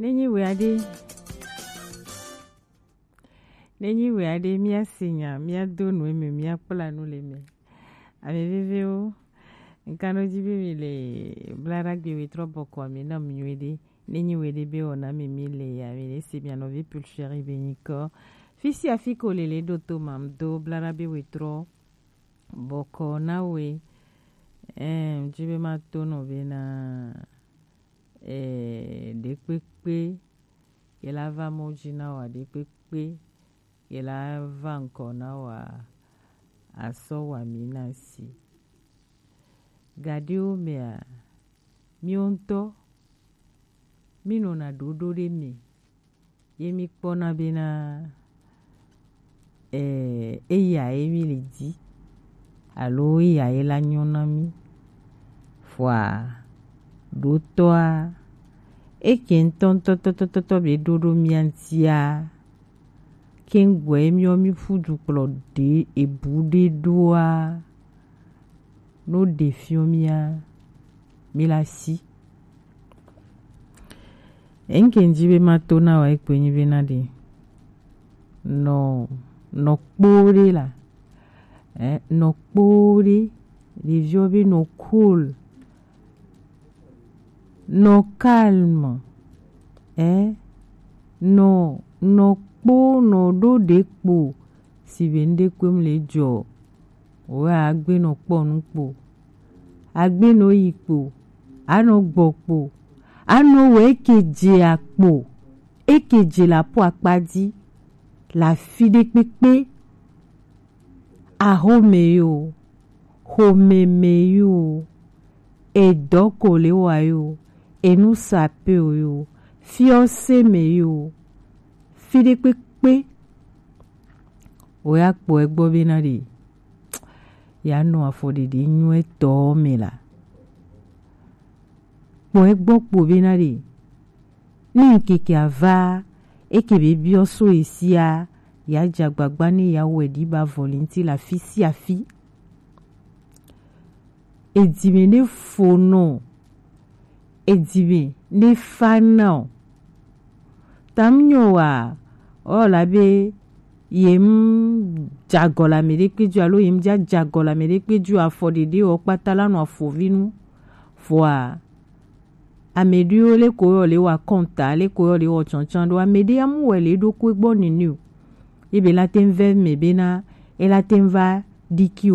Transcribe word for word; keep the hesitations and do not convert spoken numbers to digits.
Nenyi wɛ aɖe, nenyi wɛ aɖe, míase nya, míado nu eme, míakpla nu le eme. Ame vevewo, ŋkanɔ dzi be mi le Blaɖagbe wetrɔ bɔkɔ ame na mi nyuie ɖe. Nenyi wɛ ɖe be wɔna mi mi le ya mi le se mia nɔvi Pulchérie be nyikɔ. Fi sia fi ko le le ɖo to ma do Blaɖagbe wetrɔ bɔkɔ na we. Ɛɛ, dzi be ma to nɔ be na, ɛɛ, ɖekpekpe, ye la va mɔ dzi na wa ɖekpekpe, ye la va ŋkɔ na wa, asɔ wa mi na si. Gaɖewo mea, míwo ŋutɔ, mí nɔna ɖoɖo ɖe me, ye mí kpɔna bena, ɛɛ, eya ye mí le di, alo eya ye la nyɔ na mí. Vɔa, ɖotɔa, eke ŋutɔŋutɔtɔtɔtɔ be ɖo ɖo mía ŋutia, keŋgbɔe míɔ mí ƒu dukplɔ ɖe ebu ɖe ɖoa, no ɖe fiɔ mía, mí la si. Eŋke ŋdzi be ma to na wa ekpe nyi be na ɖe. Nɔ, nɔ kpo ɖe la. Eh, nɔ kpo ɖe, ɖeviɔ be nɔ cool. Nɔ calme, eh, nɔ, nɔ kpo, nɔ ɖo ɖe kpo, si be ŋɖe kpem le jɔ, wɛ agbe nɔ kpɔ nu kpo, agbe nɔ yi kpo, anɔ gbɔ kpo, anɔ wɛ eke dze akpo, eke dze la po akpa dzi, la fi ɖe kpekpe. Axome yo, xomeme yo, edɔ ko le wa yo, enu sape o yo, fiɔse me yo, fi ɖe kpekpe. O ya kpɔ egbɔ bena ɖe ya nɔ afɔɖeɖe nyuietɔ me la. Kpɔ egbɔ kpo bena ɖe ni ŋkeke ava, eke be biɔ so esia, ya dze agbagba ne ya wɛ ɖi ba vɔli ŋuti le afi sia afi. Edime ne fo nɔ, edime ne fa na o. Tam nyɔ wa, o la be yem jagɔ la me ɖe kpe ju alo yem ja jagɔ la me ɖe kpe ju afɔ ɖeɖe o kpata la nɔ afɔvi nu. Vɔa, ame ɖewo le ko yɔ le wa kɔnta, le ko yɔ le wɔ tsɔntsɔn ɖo, ame ɖe amu wɛ le ɖo ko gbɔ nini o. Ebe la te vɛ me bena, e la te va ɖiki o.